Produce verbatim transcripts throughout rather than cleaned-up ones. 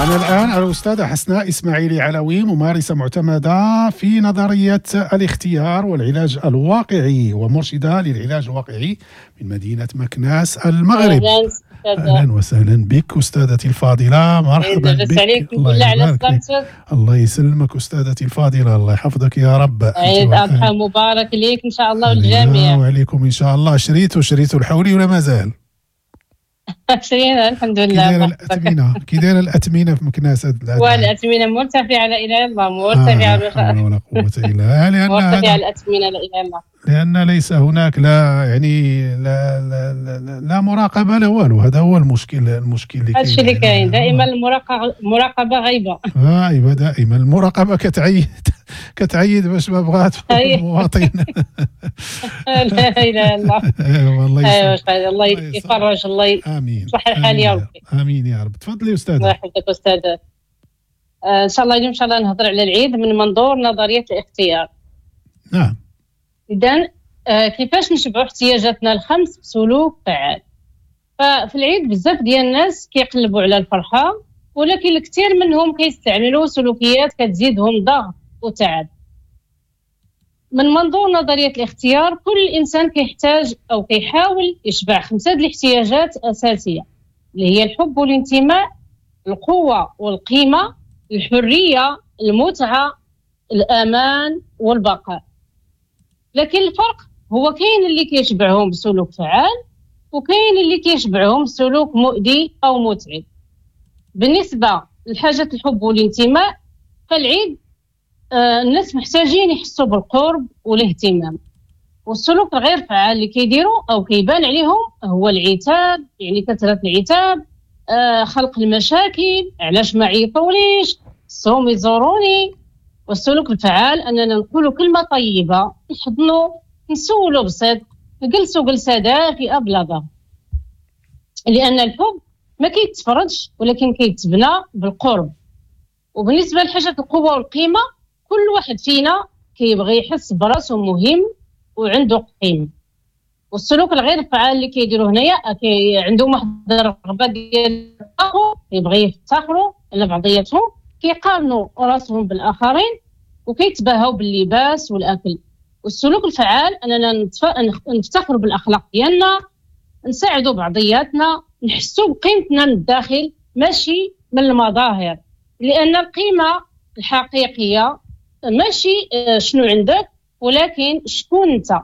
معنا الآن الأستاذة حسناء إسماعيلي علوي، ممارسة معتمدة في نظرية الاختيار والعلاج الواقعي ومرشدة للعلاج الواقعي من مدينة مكناس المغرب. أهلا وسهلا بك أستاذتي الفاضلة، مرحبا بك. الله يبارك فيك. الله يسلمك أستاذتي الفاضلة، الله يحفظك يا رب. عيد أضحى مبارك ليك إن شاء الله والجميع. وعليكم إن شاء الله. شريتو شريتو الحولي ولا مازال؟ شرينا الحمد لله. كي دايرة الاثمنه كي دايرة الاثمنه في مكناس؟ والاثمنه مرتفعة لا اله الا الله، مرتفعة آه ولا قوة الا بالله. مرتفعة الاثمنه لا اله الا الله، لان ليس هناك لا يعني لا لا, لا, لا مراقبة لا والو. هذا هو المشكل المشكل اللي كاين، هادشي اللي كاين دائما. المراقبة المراقبة غايبة غايبة دائما. المراقبة كتعيد كتعيد باش ما بغات المواطن. لا اله الا الله. والله الله يفرج، الله امين، يصلح الحال يا ربي. امين يا رب. تفضلي استاذه. الله يحفظك استاذ. ان شاء الله اليوم ان شاء الله نهضر على العيد من منظور نظرية الاختيار. نعم. اذا كيفاش نشبعوا احتياجاتنا الخمس بسلوك فعال؟ ففي العيد بزاف ديال الناس كيقلبوا على الفرحة، ولكن الكثير منهم كيستعملوا سلوكيات كتزيدهم ضغط وتعب. من منظور نظرية الاختيار، كل إنسان كيحتاج أو كيحاول يشبع خمسة د الاحتياجات أساسية، اللي هي الحب والانتماء، القوة والقيمة، الحرية، المتعة، الأمان والبقاء. لكن الفرق هو كاين اللي كيشبعهم بسلوك فعال، وكاين اللي كيشبعهم بسلوك مؤذي أو متعب. بالنسبة لحاجة الحب والانتماء، فالعيد آه الناس محتاجين يحسوا بالقرب والاهتمام. والسلوك الغير فعال اللي كيديروا او كيبان عليهم هو العتاب، يعني كثرة العتاب، آه خلق المشاكل، علاش ما عيطوليش، خصهم يزوروني. والسلوك الفعال اننا نقولوا كلمة طيبة، نحضنوا، نسولوا بصدق، نجلسوا جلسه دافئه بلا ضغط. لان الحب ما كيتفرضش ولكن كيتبنى بالقرب. وبالنسبة لحاجة القوة والقيمة، كل واحد فينا كيبغي يحس براسو مهم وعنده قيمة. والسلوك الغير فعال اللي كيديروا هنايا، كي عندهم واحد الرغبة ديال يبغي يفتخروا على بعضياتهم، كيقارنوا راسهم بالاخرين وكيتباهوا باللباس والاكل. والسلوك الفعال اننا نفتخروا بالاخلاق ديالنا، نساعدوا بعضياتنا، نحسوا بقيمتنا من الداخل ماشي من المظاهر. لان القيمة الحقيقية ماشي شنو عندك، ولكن شكون انت.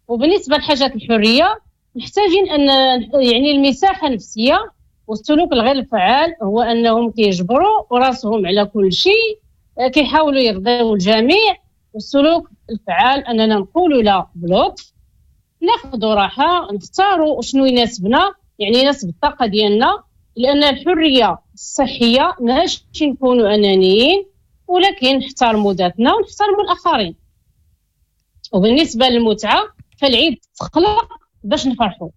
وبالنسبة لحاجات الحرية، محتاجين ان يعني المساحة النفسية. والسلوك الغير الفعال هو انهم كيجبروا راسهم على كل شيء، كيحاولوا يرضيو الجميع. والسلوك الفعال اننا نقولوا لا بلطف، ناخذوا راحة، نختاروا شنو يناسبنا، يعني يناسب الطاقة ديالنا. لان الحرية الصحية ماشي نكونوا انانيين، ولكن نحترموا ذاتنا ونحترموا الاخرين. وبالنسبة للمتعه، فالعيد تخلق باش نفرحوا.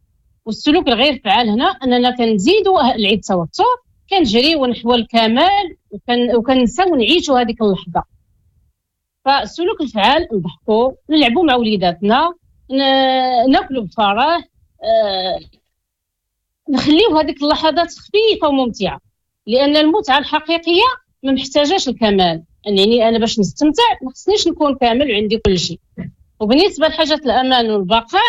والسلوك الغير فعال هنا اننا كنزيدوا العيد توتر، كنجريو نحو الكمال وكن وكنساو نعيشوا هذيك اللحظة. فالسلوك الفعال نضحكوا، نلعبوا مع وليداتنا، ناكلوا بفرح، أه نخليو هذيك اللحظات خفيفة وممتعة. لان المتعة الحقيقية ما محتاجاش الكمال، يعني انا باش نستمتع ما خصنيش نكون كامل وعندي كل شيء. وبالنسبة لحاجة الامان والبقاء،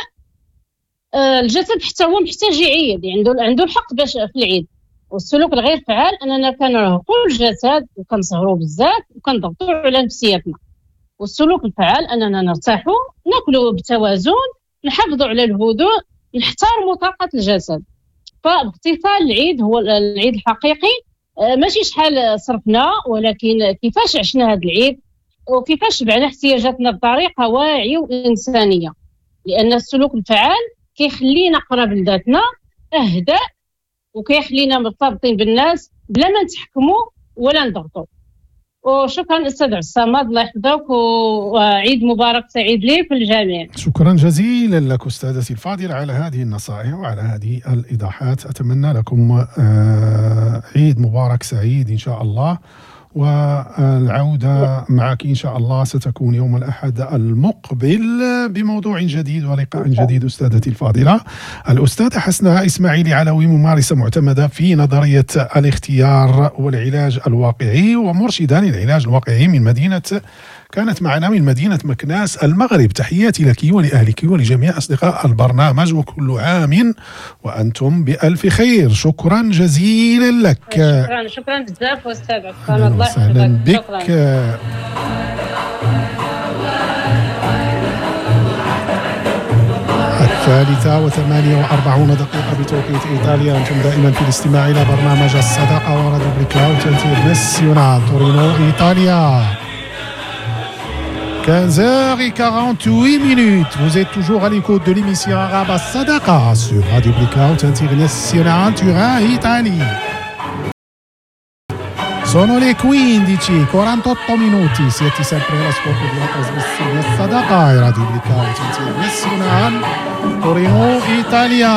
آه الجسد حتى هو محتاج يعيد، عنده عنده الحق باش في العيد. والسلوك الغير فعال اننا كنرهقوا الجسد وكنسهروا بزاف وكنضغطوا على نفسيتنا. والسلوك الفعال اننا نرتاحوا، ناكلوا بتوازن، نحافظوا على الهدوء، نحترموا طاقة الجسد. فباختصار العيد هو العيد الحقيقي ماشي شحال صرفنا، ولكن كيفاش عشنا هذا العيد وكيفاش شبعنا احتياجاتنا بطريقة واعية وانسانيه. لان السلوك الفعال كيخلينا قراب لذاتنا، اهدأ، وكيخلينا مرتبطين بالناس بلا ما نتحكموا ولا نضغطوا. وشكرا استاذ عبد الصمد، الله يحفظك، وعيد مبارك سعيد ليك والجميع. شكرا جزيلا لك استاذتي الفاضلة على هذه النصائح وعلى هذه الايضاحات. اتمنى لكم عيد مبارك سعيد ان شاء الله، والعودة معك إن شاء الله ستكون يوم الأحد المقبل بموضوع جديد ولقاء جديد. أستاذتي الفاضلة الأستاذة حسناء إسماعيلي علوي، ممارسة معتمدة في نظرية الاختيار والعلاج الواقعي ومرشدة للعلاج الواقعي من مدينة، كانت معنا من مدينة مكناس المغرب. تحياتي لك ولأهلك ولجميع أصدقاء البرنامج، وكل عام وأنتم بألف خير. شكرا جزيلا لك. شكرا شكرا بزاف أستاذ عثمان، الله وسهلا بك. الثالثة وثمانية وأربعون دقيقة بتوقيت إيطاليا. أنتم دائما في الاستماع إلى برنامج الصداقة وراديو Blackout Internazionale تورينو إيطاليا. quinze heures quarante-huit minutes. Vous êtes toujours à l'écoute de l'émission arabe As-Sadaqa sur Radio Blackout International Turin, Italie. Sono le quindici e quarantotto minuti. Siete sempre all'ascolto della trasmissione As-Sadaqa e Radio Blackout International Torino, Italia.